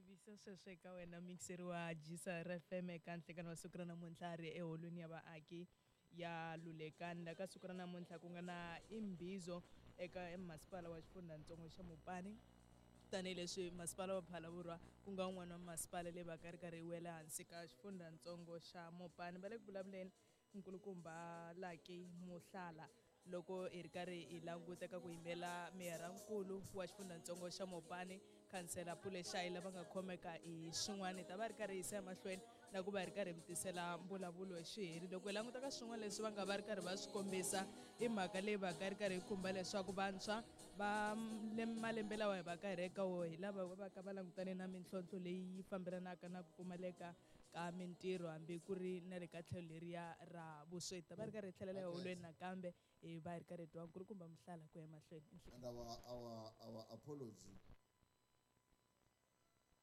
Tivisa sweswo eka wena mixeri wa Gisa FM eka nhlekani wa siku ra namuntlha ri eholweni ya vaaki ya Lulekani la ka siku ra namuntlha ku nga na imbizo eka masipala wa xifundzhantsongo xa Mopani tanihileswi masipala wa Phalaborwa ku nga wun'wana wa masipala leyi va ka ri karhi yi wela hansi ka xifundzhantsongo xa Mopani va le ku vulavuleni nkulukumba Lucky Mohlala loko hi ri karhi hi languta ka ku yimela meyarankulu wa xifundzhantsongo xa Mopani khansela Pule Shayi lava nga khomeka hi swin'wana hi ta va ri karhi hi yisa emahlweni na ku va hi ri karhi mi tisela mbulavulo hi xiheri loko hi languta ka swin'wana leswi va nga va ri karhi va swi kombisa i mhaka leyi va ka ri karhi yi khumba leswaku vantshwa va malembe lawa hi va ka hi ri eka wo hi lava va ka va langutane na mintlhontlho leyi fambelanaka na ku pfumaleka ka mintirho hambi ku ri na le ka tlhelo leriya ra vusweti va ri karhi hi tlhelela eholweni nakambe hi va hi ri karhi hi twa nkulukumba Mohlala ku ya emahlweni. And our apology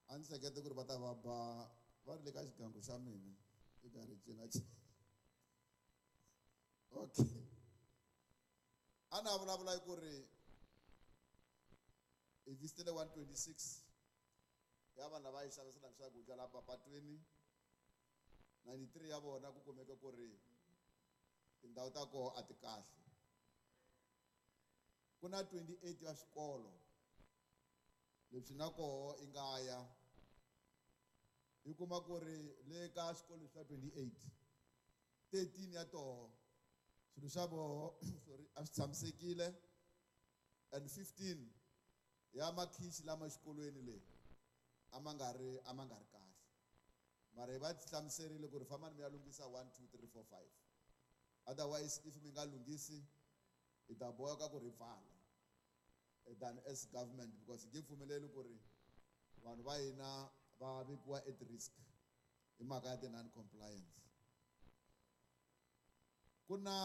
a ni hlekete ku ri va ta va ba va ri le ka xigangu xa mina i karhi cina cina. Okay, a na vulavula hi ku ri hi visitele 126 ya vanhu lava yi xaviselaka swakudya laha mapatwini, 93 ya vona ku kumeka ku ri tindhawu ta koho a ti kahle. Ku na 28 ya swikolo leswi na koho i nga ya i kuma ku ri le ka swikolo swa 28, 13 ya toho swilo swa voho sorry a swi tshamisekile, and 15 ya makhichi lama xikolweni le a ma nga ri a ma nga ri kahle. Mara hi va hlamuserile ku ri fambani mi ya lunghisa 1 2 3 4 5, otherwise if mi nga lunghisi hi ta boheka ku ri pfala than as government, because hi nge pfumeleli ku ri vanhu va hina va vekiwa at risk hi mhaka ya ti-non compliance. Ku na